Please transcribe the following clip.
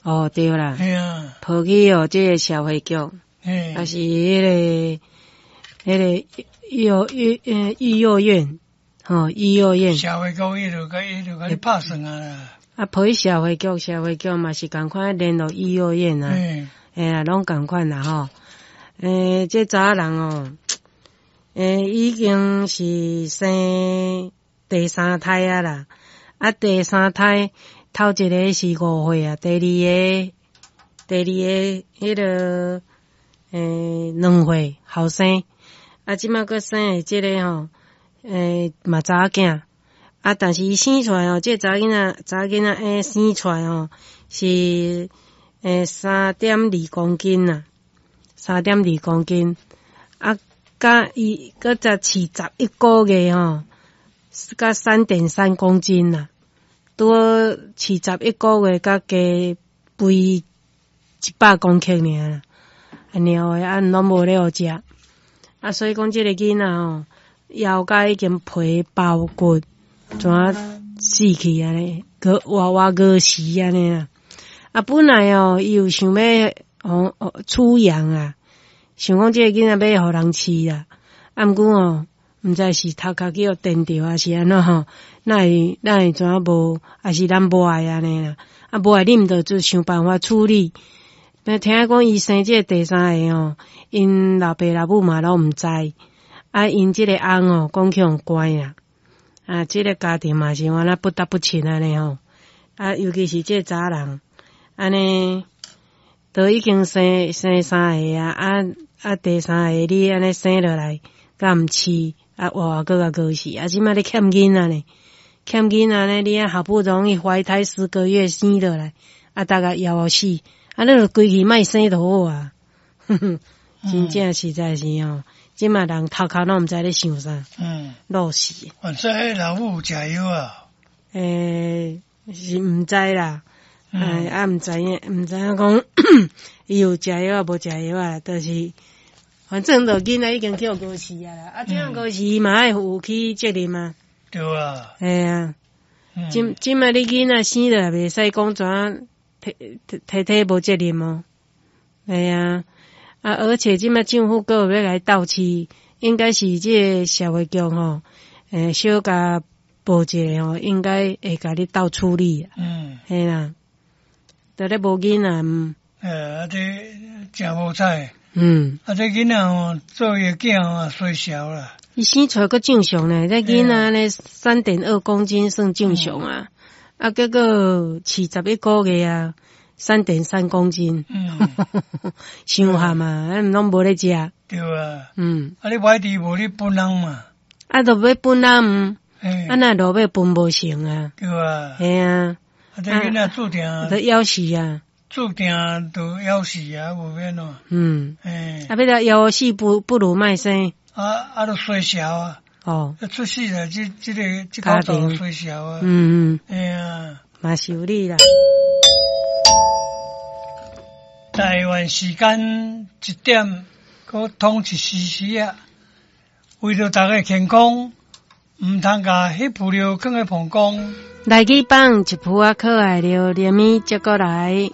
哦，對啦，嘿啊，抱去哦，這个社會局，抑是彼个幼幼院，吼，育幼院。社會局伊就共你拍算啊啦。啊，抱去社會局，社會局嘛是仝款聯絡育幼院啊，嘿啊，攏仝款啦吼。這查某人哦，已經是生第三胎啊啦，啊，第三胎頭一个是5歲啊，第二個彼个2歲後生，啊，這擺閣生的這个吼，嘛查某囝，啊，但是伊生出來哦，這個查某囡仔生出來吼，是3.2公斤啊，3.2公斤，啊，佮伊閣才飼11個月吼，佮3.3公斤啦，拄好飼11個月，佮加肥100公克爾啦，啊尿的啊攏無咧予食，啊所以講這个囡仔吼，枵甲已經皮包骨，怎啊死去按呢，閣活活餓死按呢啦。啊本來哦，伊有想欲出養啊，想講這个囡仔欲予人飼啦，啊毋過哦，毋知是頭殼去予電著，抑是按怎吼，哪會怎啊無，抑是咱無愛按呢啦？啊無愛你毋著就想辦法處理。那聽講伊生這个第三个吼，𪜶老爸老母嘛攏毋知，啊𪜶這个翁哦，講去予關啊，啊這个家庭嘛是按呢不得不親按呢吼，啊尤其是這个查人，按呢都已經生三个啊，啊第三个你按呢生落來，閣毋飼，啊活活閣共餓死，啊這擺你欠囡仔呢？欠囡仔呢？你啊好不容易懷胎10個月生落來，啊大概枵予死，啊你就規氣莫生就好啊，哼哼，真正實在是吼，這擺人頭殼攏毋知咧想啥，老死。反正彼老母有食藥啊？是毋知啦，啊毋知影，毋知影講伊有食藥啊，無食藥啊，就是反正就囡仔已經去予餓死啊啦，啊這樣餓死伊嘛愛負起責任啊。對啊。嘿啊，這擺你囡仔生落來袂使講怎啊，體體體無責任哦。嘿啊，啊而且這擺政府閣有欲來鬥飼，應該是這个社會局吼，小共報一下吼，應該會共你鬥處理。嘿啦，著咧無囡仔。啊這誠無彩。啊這囡仔吼，做伊的囝吼，衰小啦。伊生出來閣正常呢，這囡仔呢3.2公斤算正常啊，啊結果飼11個月啊，3.3公斤，傷譀啊，攏無咧食。對啊。啊你䆀治無你分人嘛。啊，著欲分人，啊若落尾分無成啊。對啊。嘿啊。啊這囡仔注定。著枵死啊。注定就枵死啊，無免咯。啊，欲來枵死不如莫生。啊，就衰小啊！出世來，這個這口就衰小啊！嘿啊，嘛是有理啦。台灣時間1點，閣通一時時啊！為著大家健康，毋通共彼浮尿囥佇膀胱。來去放一浡仔可愛著連物接過來。